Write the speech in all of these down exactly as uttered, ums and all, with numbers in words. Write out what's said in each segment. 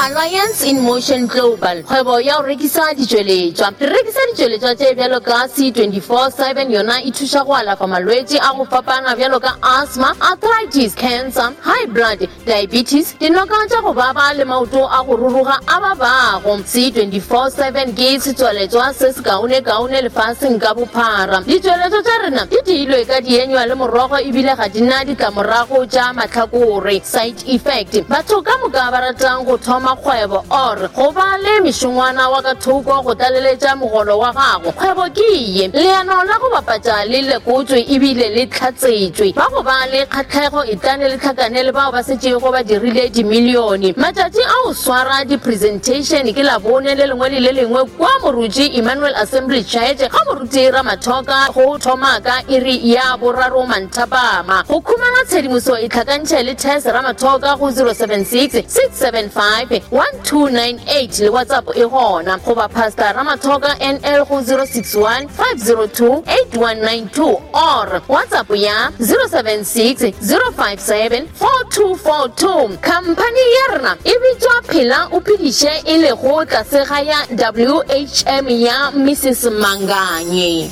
Alliance in Motion Global, kgwebo ya go rekisa ditšweletšwa. Re rekisa ditšweletšwa tše bjalo ka C twenty-four seven, yona e thuša go alafa malwetši a go fapana bjalo ka asthma, arthritis, cancer, high blood, diabetes, dinoka tša go baba le maoto a go ruruga a babago. C twenty-four seven ke setsweletšwa se se kaone-kaone lefaseng ka bophara. Ditšweletšwa tša rena di diilwe ka dienywa le morogo ebile ga di na ditlamorago tša mahlakore, side effect. Batho ka moka ba ratang go thoma kgwebo or go ba le mešongwana wa ka thoko go tlaleletša mogolo wa gago, kgwebo ke ye. Leano la go bapatša le lekotswe ebile le tlhatsetšwe. Ba go ba le kgatlhego e tlane le tlhakane le bao ba setšego ba dirile dimilione. Matšatši a go swara di-presentation ke Labone le lengwe le le lengwe kwa Moruti Emmanuel Assembly Church ga Moruti Ramathoka go thoma ka iri ya boraro manthapama. Go khumana tshedimoso e tlhakantšhe le Tess Ramathoka go zero seven six, six seven five, one two nine eight le WhatsApp e gona, goba Pastor Ramathoka N L go zero six one, five zero two, eight one nine two or WhatsApp ya zero seven six, zero five seven, four two four two. Khamphani ya rena e bitswa Phela o Phediše e lego tlase ga ya W H M ya Missus Manganye.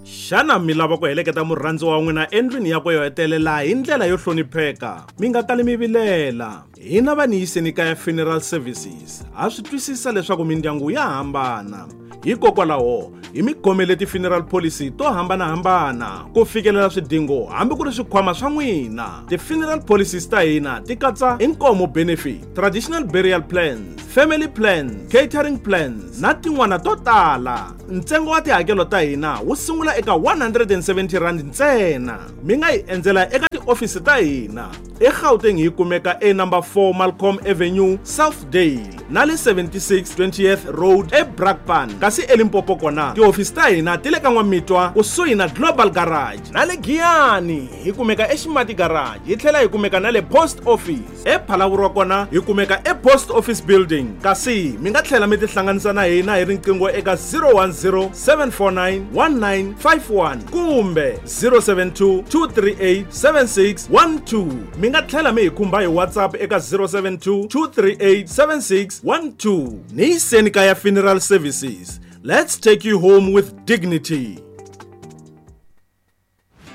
Xana mi lava ku heleketa murhandzi wa n'wina endlwini ya ku yo hetelela hi ndlela yo hlonipheka? Mi nga kali mi vilela. Hina va ni yiseni kaya Funeral Services ha swi twisisa leswaku mindyangu ya hambana. Hikokwalaho hi mi khomele ti-funeral policy to hambanahambana ku fikelela swidingo hambi ku ri swikhwama swa n'wina. Ti-funeral policies ta hina ti katsa inkomo benefit, traditional burial plans, family plans, catering plans na tin'wana to tala. Ntsengo wa tihakelo ta hina wu sungula eka one hundred and seventy rand ntsena. Mi nga hi endzela eka tiofisi ta hina eGauteng hi kumeka e number four Malcolm Avenue, Southdale na le seventy-six twentieth Road eBrakpan. Kasi eLimpopo kona tiofisi ta hina ti le ka N'wamitwa kusuhi na Global Garage na le Giyani hi kumeka eXimati Garage, hi tlhela hi kumeka na le Post Office. ePhalaborwa kona hi kumeka ePost Office Building. Kasi mi nga tlhela mi tihlanganisa na hina hi riqingho eka zero one zero, seven four nine, one nine five one kumbe zero seven two, two three eight, seven six one two. Mi nga tlhela mi hi khumba hi WhatsApp eka zero seven two, two three eight, seven six one two. Ni yiseni kaya Funeral Services. Let's take you home with dignity.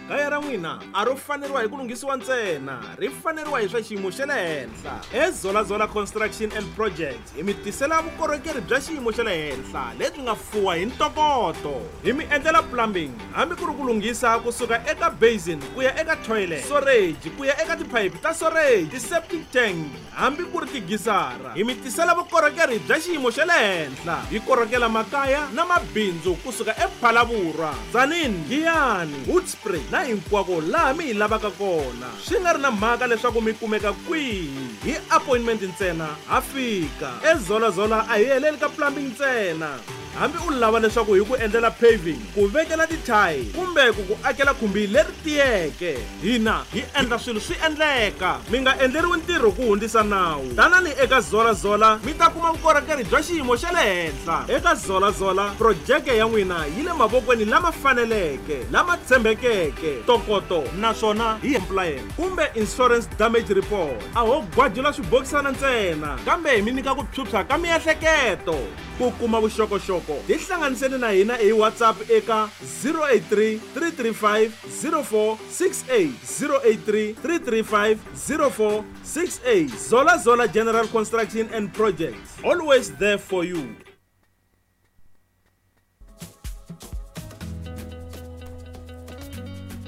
Kaya ra n'wina a ro faneriwa hi ku lunghisiwa ntsena, ri faneriwa hi swa xiyimo xa le henhla. eZola Zola Construction and Projects hi mi tisela vukorhokeri bya xiyimo xa le henhla lebyi nga fuwa hi ntokoto. Hi mi endlela plumbing hambi ku ri ku lunghisa kusuka eka basin ku ya eka toilet, storage ku ya eka tiphayiphi ta storage, ti-septic tank hambi ku ri tigisara. Hi mi tisela vukorhokeri bya xiyimo xa le henhla. Hi korhokela makaya na mabindzu kusuka ePhalaborwa, Tzaneen, Giyani, Hoedspruit na hinkwako laha mi hi lavaka kona. Swi nga ri na mhaka leswaku mi kumeka kwihi, hi appointment ntsena ha fika. eZola Zola a hi heleli ka plumbing ntsena. Hambi u lava leswaku hi ku endlela paving, ku vekela tithayi kumbe ku ku akela khumbi leri tiyeke, hina hi endla swilo swi endleka. Mi nga endleriwi ntirho ku hundzisa nawu. Tanani eka Zola Zola mi ta kuma vukorhokeri bya xiyimo xa le henhla. Eka Zola Zola projeke ya n'wina yi le mavokweni lama faneleke, lama tshembekeke, ntokoto naswona hi compliance kumbe insurance damage report. A ho gwajula swibokisana ntsena, kambe hi mi nyika ku phyuphya ka miehleketo. Ku kuma vuxokoxoko tihlanganiseni na hina hi WhatsApp eka zero eight three, three three five, zero four six eight, zero eight three, three three five, zero four six eight. Zola Zola General Construction and Projects, always there for you.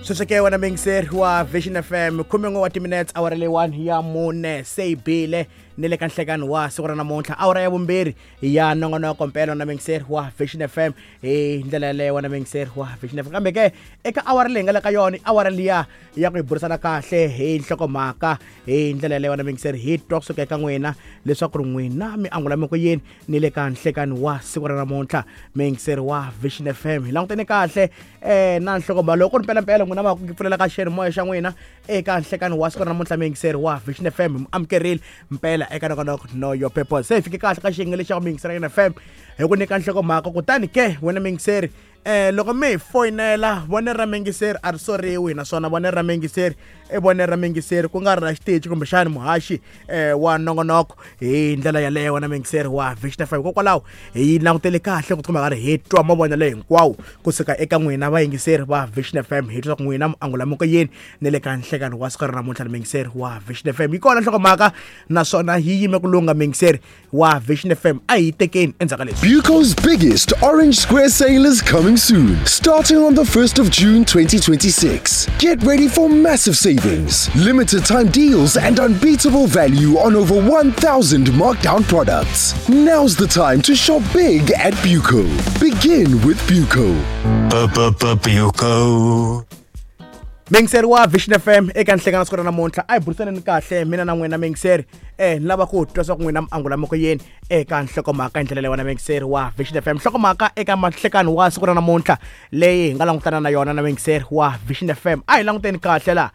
Sweswo ke wena muyingiseri wa Vision F M, khumen'we wa timinetse awara leyiwani ya mune se yi bile ni le ka nhlekani wa siku ra namuntlha, awara ya vumbirhi ya nongonoko mpela na muyingiseri wa Vision F M hi ndlela yaleyo wena muyingiseri wa Vision F M. Kambe ke eka awara leyi nga le ka yona, awara liya ya ku hi burisana kahle hi nhlokomhaka hi ndlela yaleyo wena muyingiseri, hi twa kusuka eka n'wina leswaku ri n'wina mi angula mi ku yini ni le ka nhlekani wa siku ra namuntlha muyingiseri wa Vision F M. Hi langutene kahle um na nhlokomhaka loko ri mpelampela n'wina va ku pfulela ka xiyanimoya xa n'wina eka nhlekani wa siku ra namuntlha muyingiseri wa Vision F M, mi amukerile mpela eka nongonoko Know Your Purpose. Se hi fike kahle ka xiyenge lexi xa ku muyingiseri F M hi ku nyika nhlokomhaka, kutani ke wena muyingiseri Eh loko mi hi foyinela vonelo ra muyingiseri a ri soriwi, naswona vonelo ra muyingiseri i vonelo ra muyingiseri ku nga ri ra xitichi kumbexani muhaxi eh wa nongonoko hi ndlela yaleyo wena muyingiseri wa Vision F M. Hikokwalaho hi langutele kahle ku tikuma karhi hi twa mavonelo hinkwawo kusuka eka n'wina vayingiseri va Vision F M, hi twa ku n'wina miangula yini ni le ka nhlekani wa siku ra namuntlha ni muyingiseri wa Vision F M. Yi kona nhlokomhaka naswona yi yime ku lungha muyingiseri wa Vision F M, a hi tekeni endzhaku ka leswi. Buco's biggest Orange Square sale is coming soon, starting on the first of June twenty twenty-six. Get ready for massive savings, limited time deals, and unbeatable value on over one thousand markdown products. Now's the time to shop big at Buco. Begin with Buco. Buco. Muyingiseri wa Vision F M eka nhlekani siku ra namuntlha a hi burisaneni kahle mina na n'wina muyingiseri eh ni lava ku twa swa ku n'wina miangula moko yini eka nhlokomhaka hi ndlela leyi wena muyingiseri wa Vision F M. Nhlokomhaka eka mahlekani wa siku ra namuntlha leyi hi nga langutana na yona na muyingiseri wa Vision F M, a hi languteni kahle la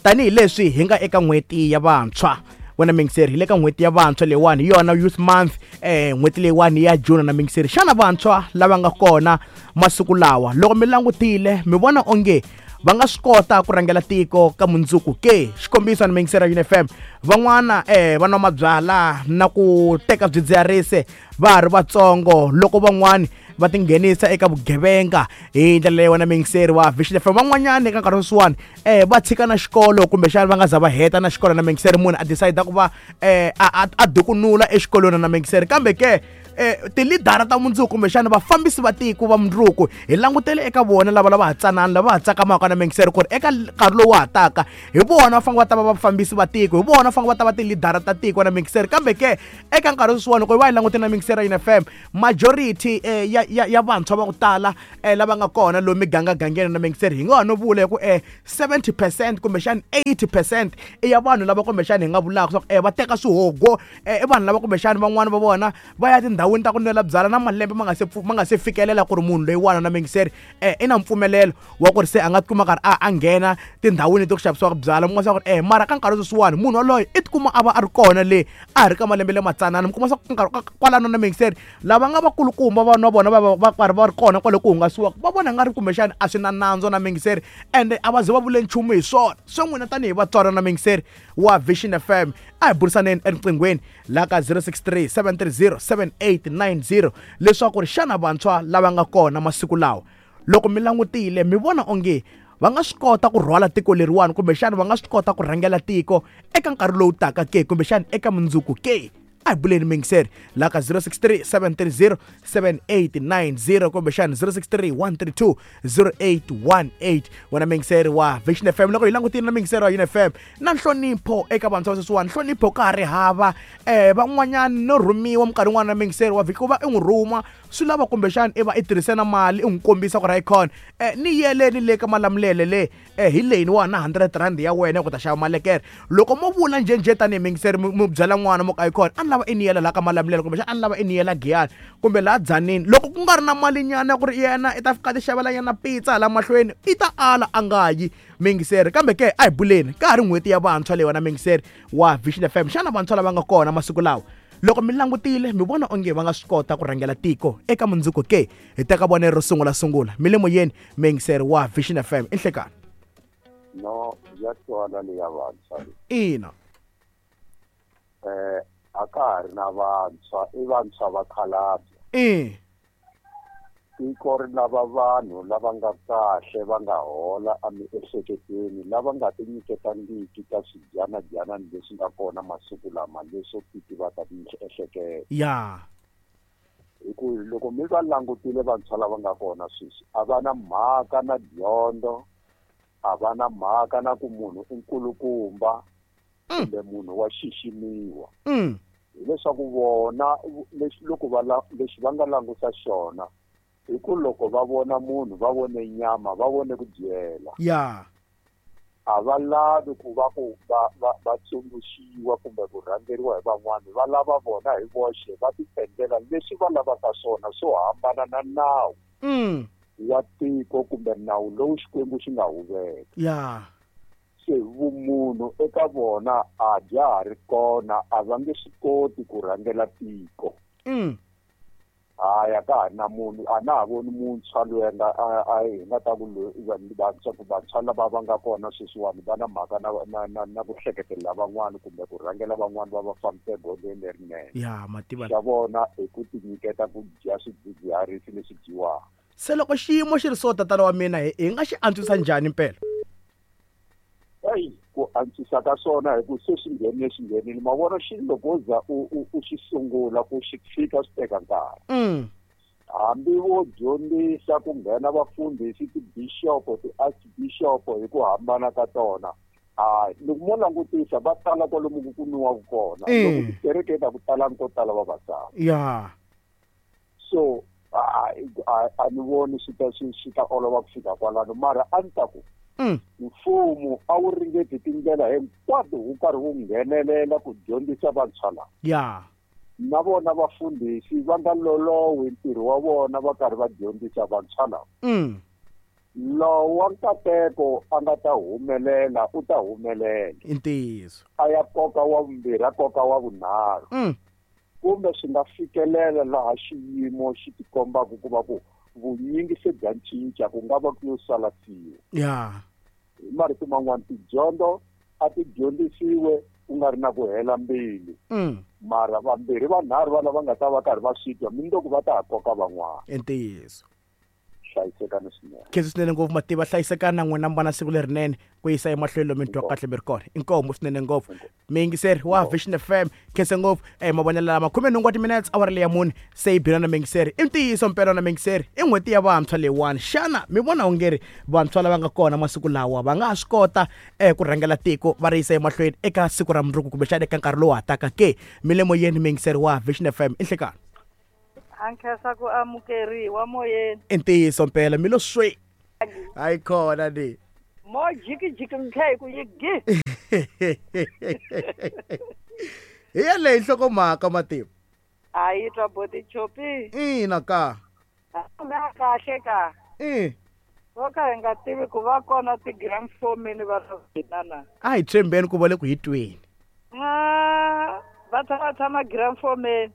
tanihileswi hi nga eka n'hweti ya vantshwa. Wena muyingiseri, hi le ka n'hweti ya vantshwa leyiwani hi yona Youth Month, eh n'hweti leyiwani ya June na muyingiseri. Xana vantshwa lava nga kona masiku lawa loko mi langutile mi vona onge va nga swi kota ku rhangela tiko ka mundzuku ke? Xikombiso ni muyingiseri wa F M, van'wana eh va nwa mabyala na ku teka swidzidziharisi va ha ri vatsongo, loko van'wani va tinghenisa eka vugevenga hi ndlela leyi wena muyingiseri wa Vision F M. Van'wanyana eka nkarhi sweswiwani eh va tshika na xikolo kumbexana va nga za va heta na xikolo na muyingiseri, munhu a decide ku va eh a a dukunula exikolweni na muyingiseri. Kambe ke eh tilidara ta mundzuku kumbexana vafambisi va tiko va mundzuku hi langutele eka vona lava lava ha tsanana lava ha tsakamaka na muyingiseri ku ri eka nkarhi lowu ha taka hi vona va fanele va ta va vafambisi va tiko, hi vona va fanele va ta va tilidara ta tiko na muyingiseri. Kambe ke eka nkarhi sweswiwani loko hi va hi langutele na muyingiseri ya F M, majority eh ya ya ya vantshwa va ku tala eh lava nga kona lomu migangagangeni na muyingiseri hi nga ha no vula hi ku eh seventy percent kumbexana eighty percent i ya vanhu lava kumbexana hi nga vulaka swa ku eh va teka swihogo eh i vanhu lava kumbexana van'wana va vona va ya tindhawini ta ku nwela byala na malembe ma nga se ma nga se fikelela ku ri munhu loyiwani na muyingiseri eh i na mpfumelelo wa ku ri se a nga tikuma karhi a a nghena tindhawini to ku xavisiwaka byala. Mi kuma swa ku ri eh mara ka nkarhi sweswiwani munhu waloye i tikuma a va a ri kona le a ha ri ka malembe lamatsanana. Mi kuma swa ku nkarhi kwalano na muyingiseri lava nga vakulukumba vanhu va vona va va karhi va ri kona kwale ku hungasiwaka va vona nga ri kumbexana a swi na nandzo na muyingiseri ende a va ze va vule nchumu hi swona. Swo n'wina tanihi vatswari na muyingiseri wa Vision F M, a hi burisaneni eriqinghweni la ka zero six three seven three zero seven eight nine zero leswaku ri xana vantshwa lava nga kona masiku lawa loko mi langutile mi vona onge va nga swi kota ku rhwala tiko leriwani kumbexana va nga swi kota ku rhangela tiko eka nkarhi lowu taka ke kumbexana eka mundzuku ke? A hi buleni muyingiseri la ka zero six three seven three zero seven eight nine zero kumbexana zero six three one three two zero eight one eight. Wena muyingiseri wa Vision F M, loko hi langutile na muyingiseri wa F M na nhlonipho eka vantshwa va sweswiwani, nhlonipho ka ha ri hava eh van'wanyana no rhumiwa minkarhi yin'wana na muyingiseri wa vhiki ku va i n'wi rhuma swi lava kumbexana i va i tirhise na mali i n'wi kombisa ku ri hayikhona eh ni yeleni le ka Malamulele le eh hi leyini wa na hundred rand ya wena ku ta xava malekere. Loko mo vula njhenjhe tanihi muyingiseri mi byela n'wana mo ka hayikhona a ni lava i ni yela laha ka Malamulele kumbexana a ni lava i ni yela Giyani kumbe laha Dzanini, loko ku nga ri na malinyana ku ri yena i ta fika ti xavela nyana pizza hala mahlweni i ta ala a nga yi muyingiseri. Kambe ke a hi buleni ka ha ri n'hweti ya vantshwa leyi wena muyingiseri wa Vision F M, xana vantshwa lava nga kona masiku lawa loko mi langutile mi vona onge va nga swi kota ku rhangela tiko eka mundzuku ke? Hi teka vonelo ro sungula sungula mi le moyeni muyingiseri wa Vision F M i nhlekani. No ya twala leya vantshwa ina eh a ka ha ri na vantshwa i vantshwa va khalabya i tiko ri lava vanhu lava nga kahle va nga hola emiehleketweni lava nga tinyiketangiki ka swidyanadyana leswi nga kona masiku lama leswo titivata miehleketo ya hi ku loko mi va langutile vantshwa lava nga kona sweswi a va na mhaka na dyondzo, a va na mhaka na ku munhu i nkulukumba kumbe munhu wa xiximiwa. Hileswaku vona lexi loko va lexi va nga languta xona hi ku loko va vona munhu va vone nyama va vone ku dyela ya a va lavi ku va ku va va va tsundzuxiwa kumbe ku rhangeriwa hi van'wani, va lava vona hi voxe va ti endlela leswi va lavaka swona swo hambana na nawu wa tiko kumbe nawu lowu Xikwembu xi nga wu veka. Ya se vumunhu eka vona a bya ha ri kona, a va nge swi koti ku rhangela tiko. Mm. Hayi a ka ha ri na munhu a na ha voni muntshwa loyi a nga a hi nga ta ku vantshwa vantshwa lava va nga kona sweswiwani va na mhaka na na na na ku hleketelela van'wani kumbe ku rhangela van'wani va va fambisa egondzweni lerinene. Ya mativa xa vona i ku tinyiketa ku dya swidzidziharisi leswi dyiwaka. Se loko xiyimo xi ri so tatana wa mina hi hi nga xi antswisa njhani mpela? Eyi ku antswisa ka swona hi ku se swi nghenile swi nghenile ma vona xilo loko wo za u u u xi sungula ku xi tshika swi teka nkarhi. Mm. Hambi vo dyondzisa ku nghena vafundhisi tibishopo ti-archbishop hi ku hambana ka tona hayi loko mo langutisa va tala kwalomu ku kumiwaka kona loko tikerekeni a ku talangi ko tala vavasati. Ya. So a a ni voni swi ta swi swi ta olova ku fika kwalano mara a ni ta ku mfumo a wu ringeti tindlela hinkwato wu karhi wu nghenelela ku dyondzisa vantshwa lava. Ya. Na vona vafundhisi va nga lolowi ntirho wa vona va karhi va dyondzisa vantshwa lava. Mm. Lowa nkateko a nga ta humelela u ta humelela. I ntiyiso. A ya koka wa vumbirhi a koka wa vunharhu. Mm. Kumbe swi nga fikelela laha xiyimo xi tikombaka ku va ku vunyingi se bya cinca ku nga va ku yo sala siwa. Ya. Hi marito man'wani tidyondzo a ti dyondzisiwe ku nga ri na ku hela mbilu. Mm. Mara vambirhi vanharhu va lava nga ta va karhi va swi twa mundzuku va ta ha koka van'wana. I ntiyiso. Hlayisekani swinene. Khensa swinene ngopfu mativa hlayisekani na n'wina mi va na siku lerinene ku yisa emahlweni lomu mi twa kahle mi ri kona. Inkomu swinene ngopfu. Miyingiseri wa Vision F M khensa ngopfu eh mavonelo lama khume nhungu wa timinetse awara leya mune se yi bile na miyingiseri. I ntiyiso mpela na miyingiseri i n'hweti ya vantshwa leyiwani. Xana mi vona onge ri vantshwa lava nga kona masiku lawa va nga ha swi kota eh ku rhangela tiko va ri yisa emahlweni eka siku ra mundzuku kumbexana eka nkarhi lowu hataka ke? Mi le moyeni miyingiseri wa Vision F M i nhlekani. A nkhensa ku amukeriwa moyeni. I ntiyiso mpela mi lo swi. Hayi khona ni. Mo jikijiki mikhe ku yi gi. Hi yaleyo nhlokomhaka mativa. A yi twa boti chopi. Ina ka. Na kahle ka. I. Vo ka hi nga tivi ku va kona ti-gramphomini va hina na. A hi tshembeni ku va le ku hi tweni. Ah, va tshama tshama gramphomini.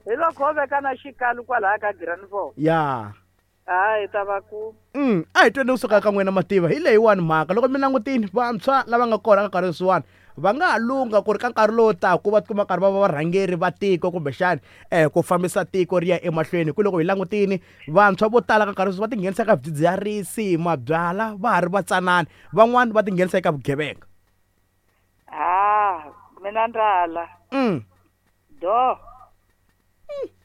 Hi loko ho veka na xikalu kwalaya ka gramphom. Ya. Hayi ta va ku. Mm, a hi tweni kusuka ka n'wina mativa hi leyiwani mhaka loko mi langutini vantshwa lava nga kona ka nkarhi sweswiwani va nga ha lungha ku ri ka nkarhi lowu taka va tikuma karhi va va varhangeri va tiko kumbexani eh ku fambisa tiko ri ya emahlweni. Ku loko hi langutini vantshwa vo tala ka nkarhi sweswi va tinghenisa eka swidzidziharisi mabyala va ha ri vatsanana van'wani va tinghenisa eka vugevenga. Ah, mina ndala. Mm. Do.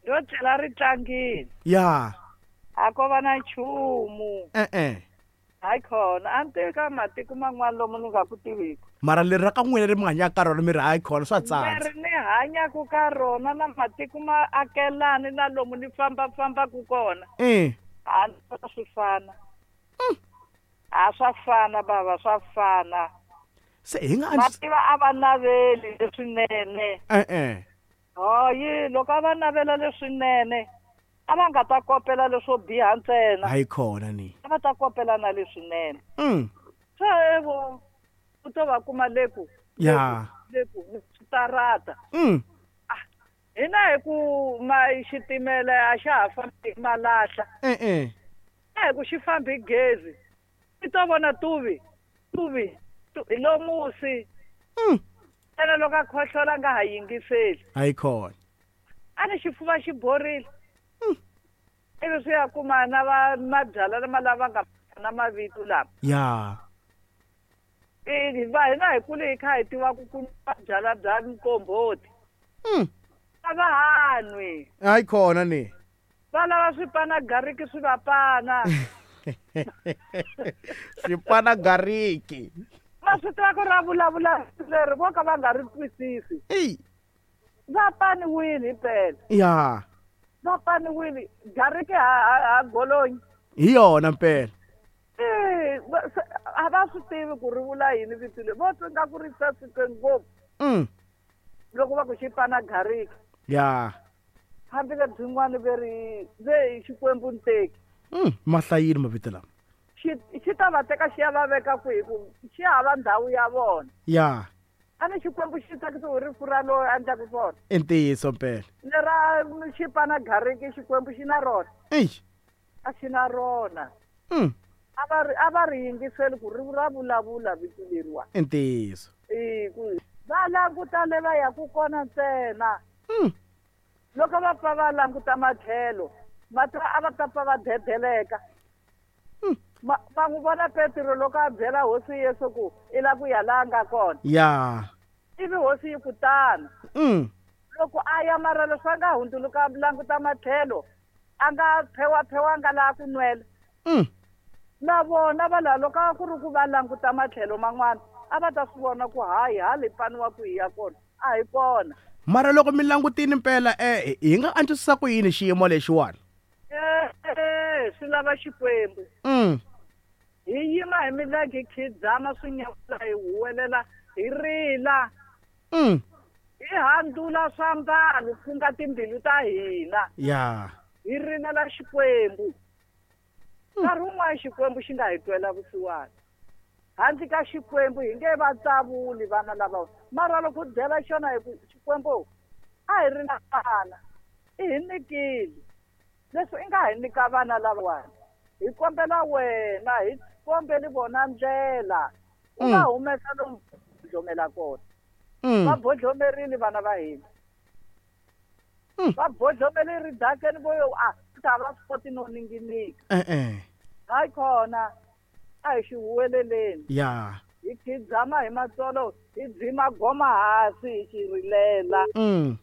Do tlhela ri tlangile. Ya. A ko va na nchumu. E-e. Hayi khona a ni tivi ka matiko man'wana lomu ni nga ku tiviki. Mara leri ra ka n'wina leri mi hanyaka ka rona mi ri hayi khona swa tsandza. Leri ni hanyaka ka rona na matiko ma akelani na lomu ni fambafambaku kona. Eh. A ni swi fana. A swa fana bava swa fana. Se hi nga mativa a va naveli leswinene. E-e. Hayi loko a va navela leswinene a va nga ta kopela leswo biha ntsena. Hayi khona ni. A va ta kopela na leswinene. Mm. Se evo u to va kuma le ku. Ya. Le ku switarata. Mm. Ah, hina hi ku ma xitimela a xa ha fambi hi malahla. E-e. A hi ku xi fambi hi gezi. I to vona tuvi, tuvi, hi lo musi. Mm. Ene loko a khohlola nga ha yingiseli. Hayi khona. A ni xifuva xi borile. Ivi swi ya kuma na va mabyala lama lava nga na mavito lama. Ya. I va hina hi kule hi kha hi tiva ku ku byala bya mkomboti. Mm. A va ha nwi. Hayi khona ni. Va lava swipana gariki swi va pana. Swipana gariki. Va swi tiva ku ra vulavula leri vo ka va nga ri twisisi. Eyi. Va paniwile hi mpela. Ya. Va paniwile gariki ha ha golonyi. Hi yona mpela. Eh, a va swi tivi ku ri vula yini vito leri. Vo twa nga ku ri saseke ngopfu. Mm. Loko va ku xi pana gariki. Ya. Hambi lebyin'wana ve ri ve Xikwembu nteki. Mm, mahlayini mavito lama. Xi xi ta va teka xi ya va veka kwihi ku xi hava ndhawu ya vona. Ya. A ni Xikwembu xi tsakisiwa hi rifu ra loyi a endlaka swona. I ntiyiso mpela. Lera xipana gariki Xikwembu xi na rona. Eish. A xi na rona. Mm. A va ri a va ri yingiseli ku ri ra vulavula vito leriwa. I ntiyiso. E ku va languta le va ya ku kona ntsena. Mm. Loko va pfa va languta matlhelo, va ta a va ta pfa va dedeleka. Mm. Ma va n'wi vona Petro loko a byela hosi Yesu ku i lava ku ya laha nga kona. Ya. Ivi hosi yi ku tana. Mm. Loko a ya mara leswi a nga hundzuluka languta matlhelo, a nga phewaphewanga laha ku nwela. Mm. Na vona va laha loko a ku ri ku va languta matlhelo man'wana, a va ta swi vona ku hayi hale paniwa ku hi ya kona, a hi kona. Mara loko mi langutini mpela eh hi nga antswisa ku yini xiyimo lexiwani? Eh, swi lava Xikwembu. Mm. Hi yima hi milenge hi khidzama swi nyawula hi huwelela hi rila. Mm. Hi handzula swiambalo ku nga timbilu ta hina. Ya. Hi rilela Xikwembu. Nkarhi wun'wana Xikwembu xi nga hi twela vusiwana. Handle ka Xikwembu hi nge va tsavuli vana lava. Mara loko u byela xona hi ku Xikwembu a hi ri na vana, i hi nyikile. Leswi i nga hi nyika vana lavawani, hi kombela wena, hi kombeli vona ndlela. U nga humesa lomu bodlomela kona. Va bodlomerile vana va hina. Va bodlomele ridakeni vo yo a ta va swi koti no ninginika. Eh eh. Hayi khona a hi xi huweleleni. Ya. Hi khidzama hi matsolo, hi dzima goma hansi hi xi rilela. Mm.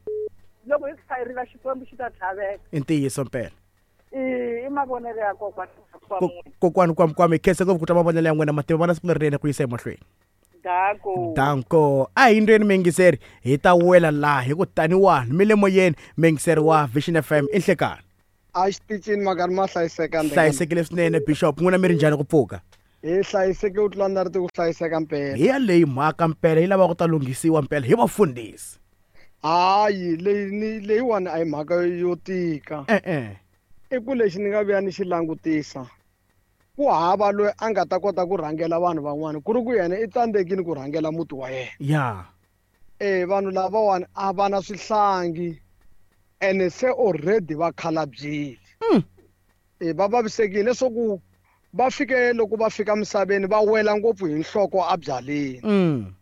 Loko hi kha hi rila Xikwembu xi ta tlhaveka. I ntiyiso mpela. I i mavonelo ya kokwana wa Kokwani kwami kwami khensa ngopfu ku twa mavonelo ya n'wina mativa vana siku lerinene ku yisa emahlweni. Danko. Danko. A hi ndweni miyingiseri hi ta wela laha hi ku taniwani mi le moyeni miyingiseri wa Vision F M i nhlekani. A xitichini makari ma hlayiseka ndlela. Hlayisekile swinene Bishop, n'wina mi ri njhani ku pfuka? Hi hlayiseke u tlula na ri ku hlayiseka mpela. Hi ya leyi mhaka mpela yi lava ku ta lunghisiwa mpela hi vafundhisi. Hayi leyi ni leyiwani a hi mhaka yo tika. Eh eh. I ku lexi ni nga vuya ni xi langutisa. Ku hava loyi a nga ta kota ku rhangela vanhu van'wana ku ri ku yena i tsandzekile ku rhangela muti wa yena. Ya. Eh vanhu lavawani a va na swihlangi ene se already va khalabyile. Mm. Eh va vavisekile leswaku va fike loko va fika misaveni va wela ngopfu hi nhloko a byaleni. Mm.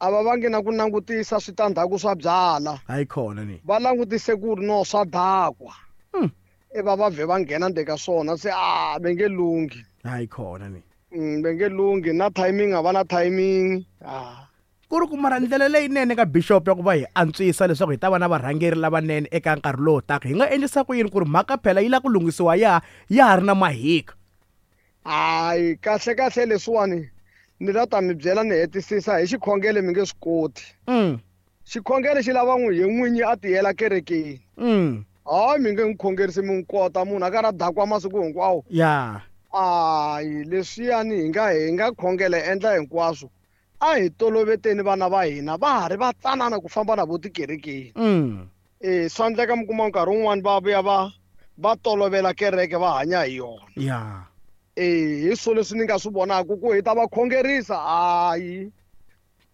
A va vangi na ku langutisa switandzhaku swa byala. Hayi khona ni. Va langutise ku ri no swa dakwa. Mm. E va va vhe va nghena ndzeni ka swona se a va nge lunghi. Hayi khona ni. Mm, va nge lunghi na timing a va na timing. Ah. Ku ri ku mara ndlela leyinene ka Bishop ya ku va hi antswisa leswaku hi ta va na varhangeri lavanene eka nkarhi lowu taka hi nga endlisa ku yini ku ri mhaka phela yi lava ku lunghisiwa ya ya ha ri na mahika. Hayi kahle kahle leswiwani ni la ta mi byela ni hetisisa hi xikhongelo mi nge swi koti. Mm. Xikhongelo xi lava n'wi hi n'winyi a tiyela kerekeni. Mm. Hayi mi nge n'wi khongerisi mi n'wi kota munhu a karhi a dakwa masiku hinkwawo. Ya. Hayi leswiyani hi nga hi nga khongela hi endla hinkwaswo. A hi toloveteni vana va hina va ha ri va tsanana ku famba na vo tikerekeni. Mm. Eh swa endleka mi kuma nkarhi wun'wani va vuya va va tolovela kereke va hanya hi yona. Ya. Eh hi swilo leswi ni nga swi vonaka ku hi ta va khongerisa hayi.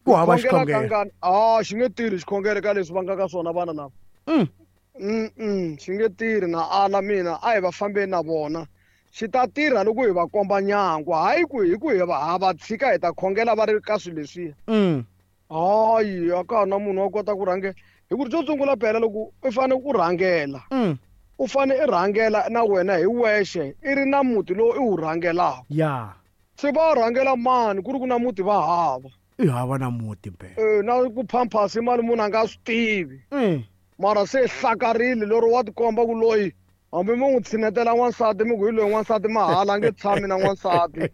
Ku hava xikhongelo. Ah xi nge tirhi xikhongelo ka leswi va nga ka swona vana lava. Mm. Mm mm xi nge tirhi na ala mina a hi va fambeni na vona. Xi ta tirha loko hi va komba nyangwa hayi ku hi ku hi va ha va tshika hi ta khongela va ri ka swilo leswiya. Mm. Hayi a ka ha na munhu wa kota ku rhangela hi ku ri xo sungula phela loko u fanele u rhangela. Mm. U fanele i rhangela na wena hi wexe i ri na muti lowu i wu rhangelaka. Ya. Se va rhangela mani ku ri ku na muti va hava. I hava na muti mpela. Eh na ku phamphasa mali munhu a nga swi tivi. Mm. Mara se hlakarile lero wa tikomba ku loyi hambi mi n'wi tshinetela n'wansati mi ku hi loyi n'wansati mahala a nge tshami na n'wansati.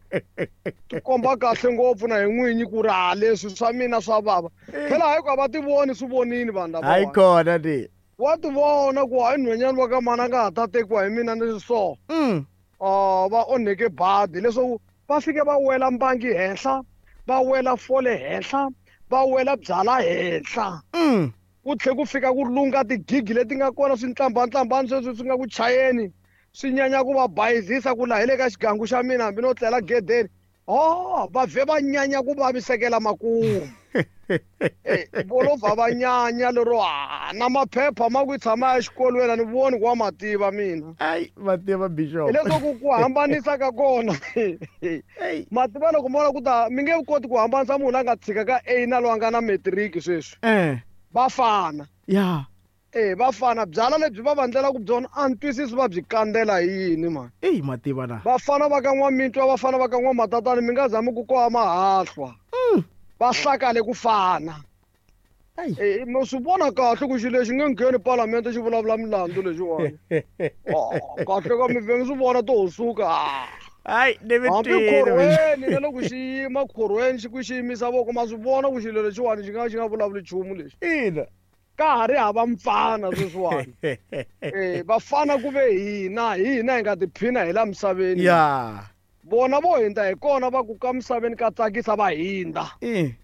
Tikomba kahle ngopfu na hi n'winyi ku ri ha leswi swa mina swa vava. Phela hayi ku a va ti voni swi vonini vanhu lava. Hayi kona ni. Wa ti vona ku hayi nhwenyani wa ka mani a nga ha ta tekiwa hi mina ni so. Mm. Ah va onheke badi leswaku va fike va wela mbangi henhla, va wela fole henhla, va wela byala henhla. Mm. Ku tlhe ku fika ku lunga tigigi leti nga kona swintlambantlambani sweswi swi nga ku chayeni swi nyanya ku va bayizisa ku laha hi le ka xigangu xa mina hambi no tlela gedeni Oh, va vhe va nyanya ku vavisekela makumu. Eh, vo va va nyanya lero ah, na maphepha ma ku tshama exikolweni a ni voni ku wa mativa mina. Ai, mativa bishop. Hileswaku ku hambanisa ka kona. Mativa loko mo ku ta mi nge koti ku hambanisa munhu a nga tshika ka A na loyi a nga na matric sweswi. Eh. Va fana. Ya. Eh, va fana byala lebyi va vandlela ku byona a ni twisisi va byi kandzela hi yini mani. Eyi mativa na. Vafana va ka N'wamitwa, vafana va ka N'wamatatani mi nga zami ku koha mahahlwa. Va hlakale ku fana. Eh, mi swi vona kahle ku xilo lexi nge ngheni palamende xi vulavula milandzu lexiwani. Oh, kahle ka mi vhe mi swi vona to ho suka. Ai, ni mi Hambi twile. khorweni na loko xi yima khorweni xi ku xi yimisa voko ma swi vona ku xilo lexiwani xi nga xi nga vulavuli nchumu lexi. Ina. Ka ha ri hava mfana sweswiwani. Eh, vafana ku ve hina, hina hi nga tiphina hi la misaveni. Ya. Vona vo hindza hi kona va ku ka misaveni ka tsakisa va hindza. Eh.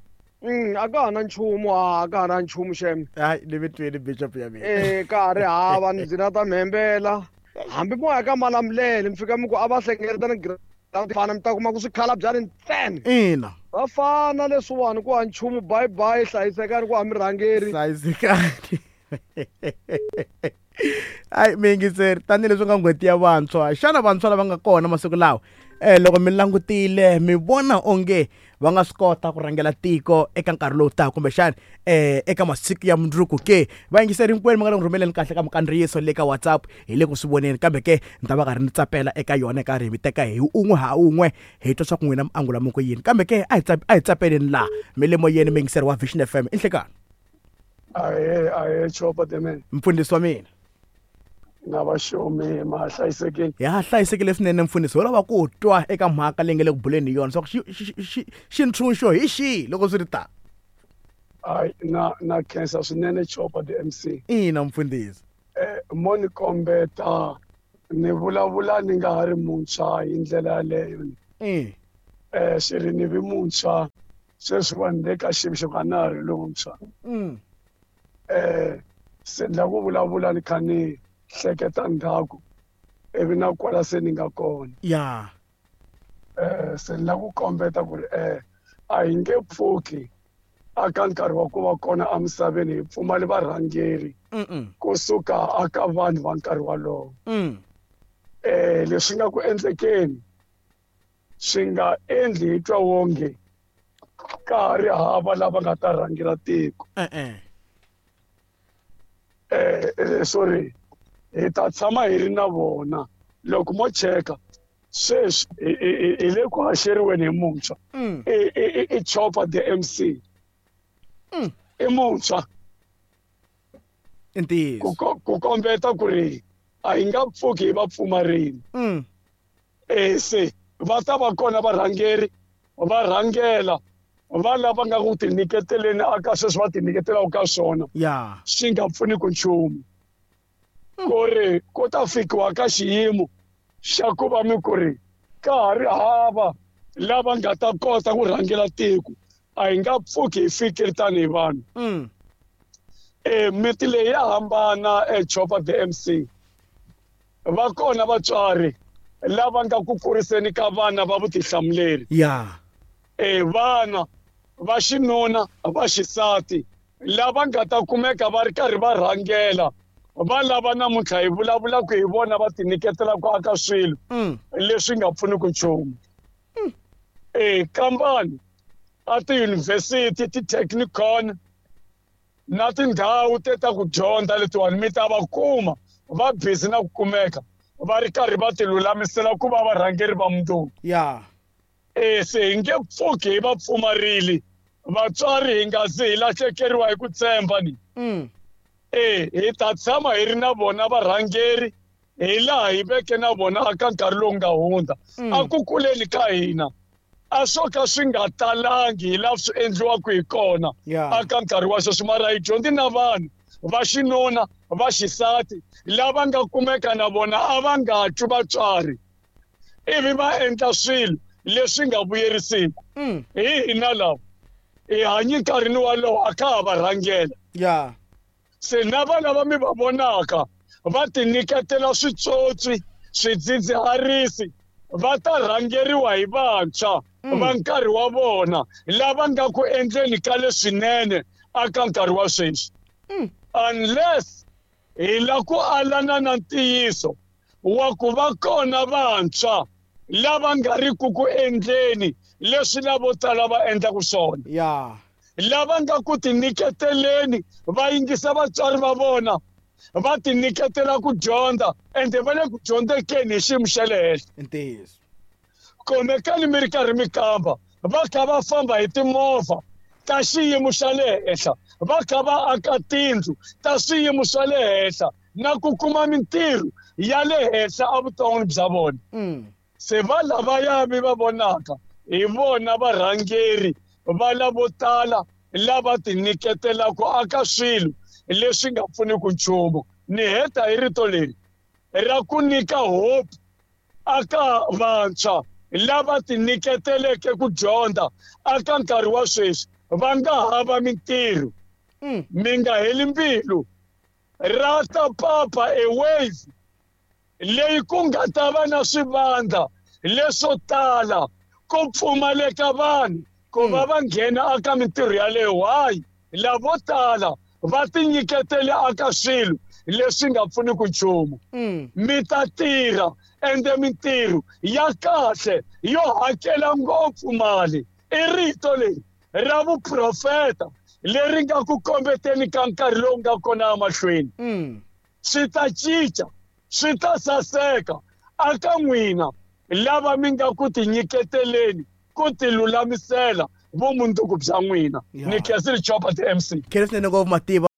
Mm, a ka ha na nchumu, a ka ha na nchumu xem. Ai, ni mi twile bishop ya mina. Eh, ka ha ri hava ni dzina ta mhembela. Hambi mo ya ka Malamulele mi fika mi ku a va hlengeletana ground fana mi ta kuma ku swikhala bya ri ntsena. Ina. Va fana leswiwani ku ha nchumu bye bye hlayisekani ku ha mirhangeri. Hlayisekani. Ai, miyingiseri, tanihileswi nga n'hweti ya vantshwa, xana vantshwa lava nga kona masiku lawa eh loko mi langutile mi vona onge va nga swi kota ku rhangela tiko eka nkarhi lowu taka kumbexana eh eka masiku ya mundzuku ke? Vayingiseri hinkwenu mi nga le ku rhumeleni kahle ka mikandziyiso le ka WhatsApp hi le ku swi voneni, kambe ke ni ta va karhi ni tsapela eka yona karhi hi mi teka hi un'we ha un'we hi twa swa ku n'wina mi angula mi ku yini. Kambe ke a hi a hi tsapeleni laha mi le moyeni miyingiseri wa Vision F M. I nhlekani. Ahe, ahe, Chopa the man. Mfundhisi wa mina. Na vaxomi ma hlayisekile. Ya hlayisekile swinene mfundhisi, ho lava ku twa eka mhaka leyi nga le ku buleni hi yona swa ku xi xintshunxo hi xihi loko swi ri ta. Ai, na na khensa swinene Chopa the M C. Ina mfundhisi. Eh, mo ni kombeta ni vulavula ni nga ha ri muntshwa hi ndlela yaleyo. Eh. Eh, swi ri ni vi muntshwa sweswi vanhu le ka xiyimo xo ka na ha ri lontshwa. Mm. Eh, se ni lava ku vulavula ni kha ni hleketa ndzhaku ivi na kwala se ni nga kona. Ya. Eh, se ni lava ku kombeta ku ri eh a hi nge pfuki aka nkarhi wa ku va kona emisaveni hi pfumali varhangeri kusuka aka vanhu va nkarhi walowo. Mm. Eh, leswi nga ku endlekeni swi nga endli hi twa wonge ka ha ri hava lava nga ta rhangela tiko. Eh-eh. Eh, sorry, hi ta tshama hi ri na vona loko mo cheka sweswi hi le ku haxeriweni hi muntshwa. I Chopa the M C. I muntshwa. I ntiyiso. Ku kombeta ku ri a hi nga pfuki hi va pfumarini. Eh, se va ta va kona varhangeri va rhangela va lava nga ku tinyiketeleni aka sweswi va tinyiketelaka ka swona. Ya. Swi nga pfuni ku nchumu. Ku ri ku ta fikiwa ka xiyimo xa ku va mi ku ri ka ha ri hava lava nga ta kota ku rhangela tiko, a hi nga pfuki hi fikile tanihi vanhu. Eh, miti leyi ya hambana Chopa the M C. Va kona vatswari lava nga ku kuriseni ka vana va vutihlamuleri. Ya. Eh, vana va xinuna va xisati lava nga ta kumeka va ri karhi va rhangela va lava namuntlha hi vulavulaka hi vona va tinyiketela ku aka swilo leswi nga pfuniki nchumu. Eh, kambani a tiyunivhesiti, ti-technikon na tindhawu te ta ku dyondza letiwani mi ta va kuma va busy na ku kumeka va ri karhi va ti lulamisela ku va varhangeri va mundzuku. Ya. Eh, se hi nge pfuki hi va pfumarile vatswari hi nga zi hi lahlekeriwa hi ku tshemba ni. Eh, hi ta tshama hi ri na vona varhangeri hi laha hi veke na vona aka nkarhi lowu nga hundza. A ku kuleni ka hina a swo ka swi nga talangi hi laha swi endliwaka hi kona aka nkarhi wa sweswi, mara hi dyondzi na vanhu va xinuna va xisati lava nga kumeka na vona a va nga twi vatswari ivi va endla swilo leswi nga vuyerisiki. Hi hina lava hi hanyi nkarhini walowo a ka ha va rhangela. Ya. Se na vana va mi va vonaka va tinyiketela switsotsi, swidzidziharisi Va ta rhangeriwa hi vantshwa va nkarhi wa vona lava nga ku endleni ka leswinene aka nkarhi wa sweswi. Unless hi la ku alana na ntiyiso wa ku va kona vantshwa lava nga ri ku ku endleni leswi lavo tala va endlaku swona. Yeah. Lava nga ku tinyiketeleni va yingisa vatswari va vona va tinyiketela ku dyondza ende va le ku dyondzekeni hi xiyimo xa le henhla. Ntiyiso. Khomekani mi ri karhi mi kamba va kha va famba hi timovha ta xiyimo xa le henhla, va kha va aka tindlu ta swiyimo swa le henhla na ku kuma mintirho ya le henhla evuton'wini bya vona. Se va lavaya mi va vonaka hi vona varhangeri va lavo tala lava tinyiketelaka aka swilo leswi nga pfuniki nchumu. Ni heta hi rito leri ra ku nyika hope aka vantshwa lava tinyiketeleke ku dyondza aka nkarhi wa sweswi va nga hava mintirho. Mi nga heli mbilu. Ra ta papa a wave leyi ku nga ta va na swivandla leswo tala ku pfumaleka vanhu ku va va nghena aka mintirho yaleyo. Why? Lavo tala va tinyiketele aka swilo leswi nga pfuniki nchumu. Mi ta tirha ende mintirho ya kahle yo hakela ngopfu mali. I rito leri ra vuprofeta leri nga ku kombeteni ka nkarhi lowu nga kona emahlweni. Swi ta cinca, swi ta saseka aka n'wina lava mi nga ku tinyiketeleni ku tilulamisela vumundzuku bya n'wina. Ni khensile Chopa the M C. Khensile ngopfu Mativa.